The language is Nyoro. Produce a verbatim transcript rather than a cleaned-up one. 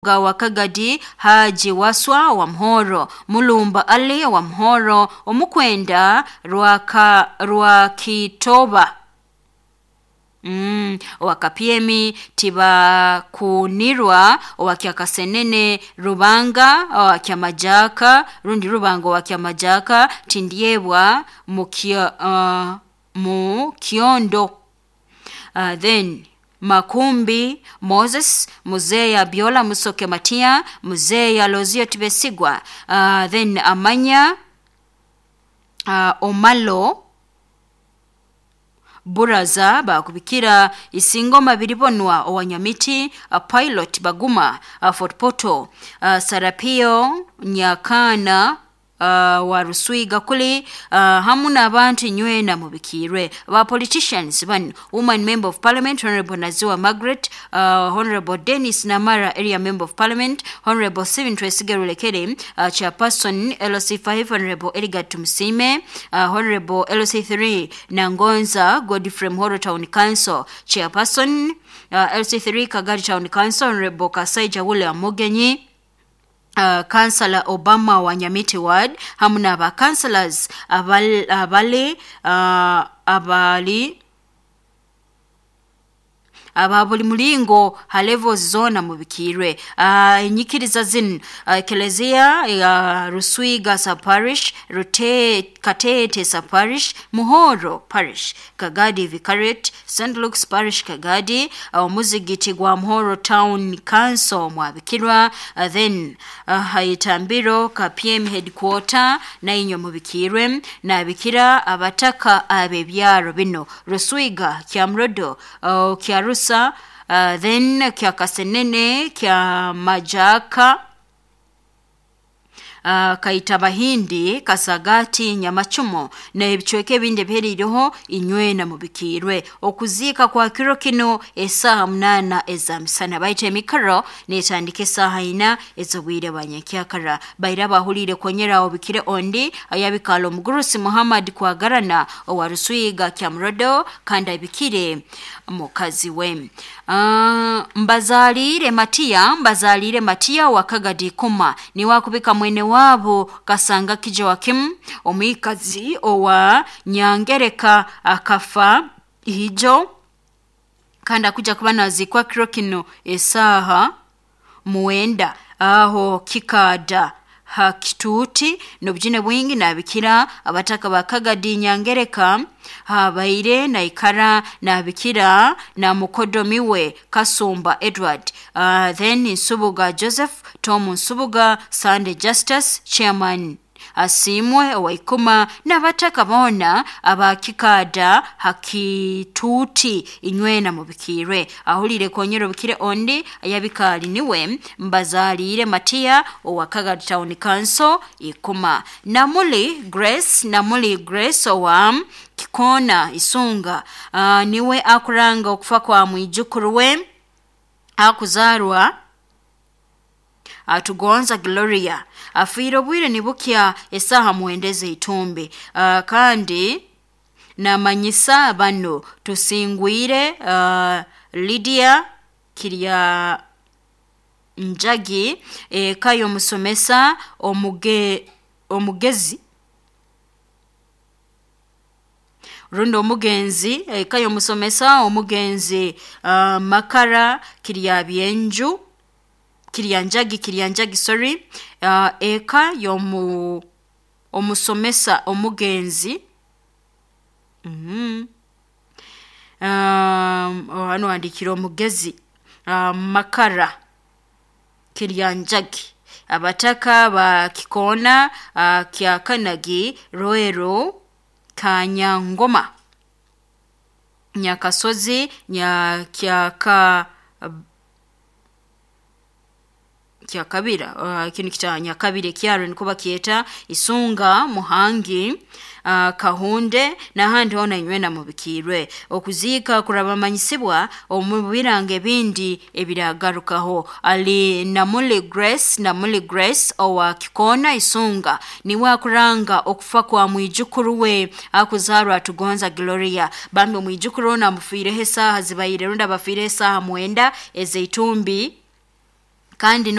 Wa Kagadi, Haji Waswa wa Mhoro, Mulumba Ali wa Mhoro, Omukwenda Rwaka Rwakitoba Mm, Owakapiemi Tibakunirwa Owakyakasenene Rubanga Owakyamajaka rundi Rubanga Owakyamajaka Tindyebwa Mukio, uh, Mukiondo uh, then Makumbi Moses Muzeya Biola Musoke Matia Muzeya Lozio Tibesigwa uh, then Amanya uh, Omalo Buraza bakubikira Isingoma Biribonwa Owanyamiti uh, Pilot Baguma uh, Fort Portal uh, Sarapio Nyakana Uh, wa Ruswiga kuli uh, hamu n'abantu nywena mubikirwe ba politicians bano woman member of parliament Honorable Naziwa Margaret uh, Honorable Dennis Namara area member of parliament Honorable Stephen Twesige Rulekere uh, chairperson L C five Honorable Edgar Tumsime uh, Honorable L C three Nangonza Godfrey Mhoro Town Council chairperson uh, L C three Kagadi Town Council Honorable Kasaija William Mugenyi Uh, Kansala Obama wa Nyamiti Ward hamu n'aba councillors abali, abali, uh, abali aba buli mulingo ha levels zona mubikirwe uh, enyikiriza zinu uh, Eklezia uh, Ruswiga sa parish Rute Katete sa parish Muhoro parish Kagadi Vicariate Saint Luke's parish Kagadi omuzigiti uh, gwa Muhoro Town Council mwabikirwa uh, then uh, Haitambiro ka P M headquarter na inyo mubikirwe nabikira abataka abebyaro bino Ruswiga Kyamrodo uh, Kyarusa Uh, then kya Kasenene kya Majaka uh, Kaitabahindi Kasagati Nyamachumo na ebicweka ebindi ebiheriireho inywena mubikirwe okuziika kwa kiro kino esaaha munaana ezamisana baita emikaro netandika esaaha ina ez'obwire bwa nyenkyakara baira bahuliire konyera obikire ondi ayabikaala omugurusi Muhammad Kwagarana owa Ruswiga Kyamrodo kandi abikire mukazi we uh, Mbazaliire Matiya Mbazaliire Matiya wa Kagadi Kuma niwakubika mwene wabo Kasanga Kijoakim omwikazi owa Nyangereka akafa hijo kandi akuja kuba nazikwa kiro kino esaha muwenda aho kikada hakituuti n'obujune bwingi nabikira abataka ba Kagadi Nyangereka habaire naikara nabikira na mukodomiwe Kasumba Edward uh, then Nsubuga Joseph Tom Nsubuga Sunday Justice chairman Asimwe Owaikuma n'abataka boona abakikada hakituuti inywena mubikirwe ahulire konyera obukire ondi ayabikaali niwe Mbazaliire Matiya owa Kagadi Town Council Ikuma Namuli Grace Namuli Grace owa Kikona Isunga uh, niwe akuranga okufa kwa mwijukuru we akuzarwa Atugonza Gloria afiire obwire nibukya esaha muwendeze itumbi uh, kandi namanyisa bano tusingwire uh, Lydia Kirya Njagi eka e, y'omusomesa omuge, omugezi rundi omugenzi eka y'omusomesa omugenzi uh, Makara Kirya Byenju Kiryanjagi Kiryanjagi sorry uh, eka yomu omusomesa omugenzi mm -hmm. um, hano handikira omugezi uh, Makara Kiryanjagi abataka ba Kikona uh, Kyakanagi Roero Kanyangoma Nyakasozi Nyakyaka uh, Kyakabira uh, kinu kita Nyakabire kyaro niko bakyeta Isunga Muhangi uh, Kahunde n'ahandi hona inywena mubikirwe okuziika kurabamanyisibwa omu birango ebindi ebiragarukaho ali Namuli Grace Namuli Grace owa Kikona Isunga niwe akuranga okufa kwa mwijukuru we akuzarwa Atugonza Gloria bambi omwijukuru ono amufiireho esaaha zibaire rundi abafiireho esaaha mwenda ezeitumbi Kandi